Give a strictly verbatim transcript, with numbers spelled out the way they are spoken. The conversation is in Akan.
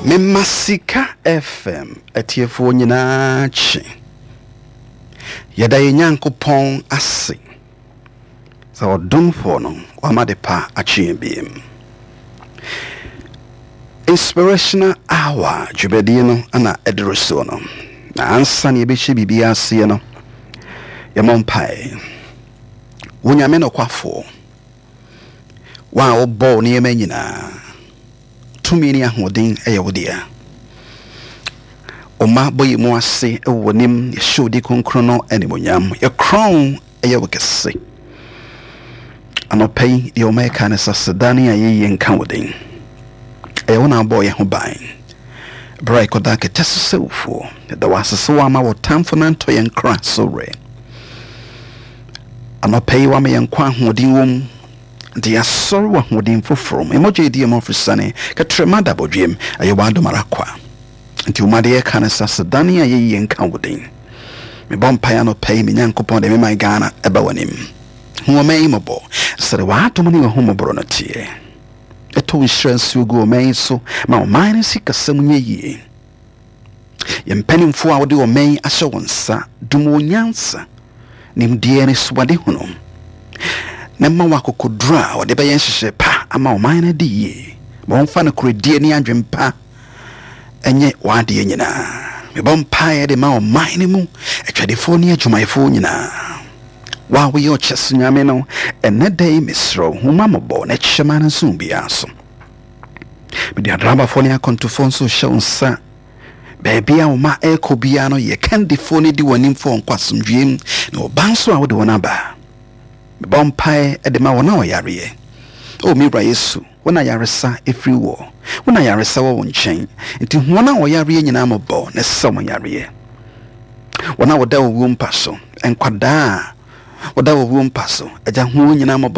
Mema Sika F M atiefoɔ nyinaa kye. Yɛda yɛn Nyankopɔn ase sɛ ɔdomfoɔ no wama de pa akye yɛn biem. Inspirational Hour dwumadie no ana ɛduru soɔ no, na ansa ne yɛbɛhyɛ biribi aseɛ no, yɛmmɔ mpae. Wo Nyame nokwafoɔ, wo a wobɔɔ nneɛma nyinaa, tumi ne ahoɔden ɛyɛ wo dea. Ɔma bɔ yɛ mu ase wɔ w'anim, yɛhyɛ wo di kronkron no animonyam, yɛkorɔn ɛyɛ wo kɛse. Anɔpa yi deɛ ɔma yɛka ne sɛ aseda ne ayɛyie nka wo den. Ɛyɛ wo na abɔɔ yɛn ho ban berɛ a yɛkɔda kɛtɛ so sɛ wufoɔ. Yɛda wo ase sɛ woama wɔ tamfo no antɔ yɛn kra so werɛ. Anɔpa yi woama yɛn nkwa, ahoɔden wɔ mu, nti yɛasɔre wɔ ahoɔden foforɔ mu. Ɛmɔgya ɛdi ɛmɔ afiri kɛtrɛma da bɔdwam, ɛyɛ w'adom ara kwa. Nti woma de yɛka ne sɛ aseda ne ayɛyie nka wo den. Mebɔ mpaeɛ anɔpa yi, me Nyankopɔn, de mema Ghana ɛba w'anim. Hu ɔman yi mmɔbɔ sɛde w'adom ne w'ahummɔborɔ no teɛ. Ɛtɔ wo nhyira nsuo gu ɔman yi so ma ɔman no sikasɛm nyɛ yie. Yɛn mpanimfoɔ a wode ɔman yi ahyɛ wɔn nsa, dom wɔn nyansa, nimdeɛ ne soadehunu, na ma wɔ akokoduro a wɔde bɛyɛ nhyehyɛ pa ama ɔman no adi yie. Ma wɔmfa no koredie ne adwempa ɛnyɛ w'adeɛ nyinaa. Mebɔ mpaeɛ de ma ɔman no mu atwadefoɔ ne adwumayɛfoɔ nyinaa. Wo a woyɛ ɔkyɛ so Nyame no, ɛnɛ da yi mesrɛ wo, hu ma mmɔbɔ na kyɛ ma no nso biara so. Mede adrabafoɔ ne akɔntofoɔ nso hyɛ wo nsa. Baabi a wɔma ɛrekɔ biara no, yɛ kandifoɔ no di wɔn anim fo nkɔ asomdwoeɛ mu, na ɔba nso a wode wɔn aba. Mebɔ mpaeɛ de ma wɔn a wɔyareɛ. O me Wura Yesu, wo na yaresa ɛfiri wɔ, wo na yaresa wɔ wo nkyɛn, nti wɔn a wɔyareɛ nyinaa mmɔbɔ na ɛsɛ wɔn yareɛ. Wɔn a wɔda owuo mpa so, nkwadaa a wɔda owuo mpa so, agya, hu wɔn nyinaa mmɔbɔ.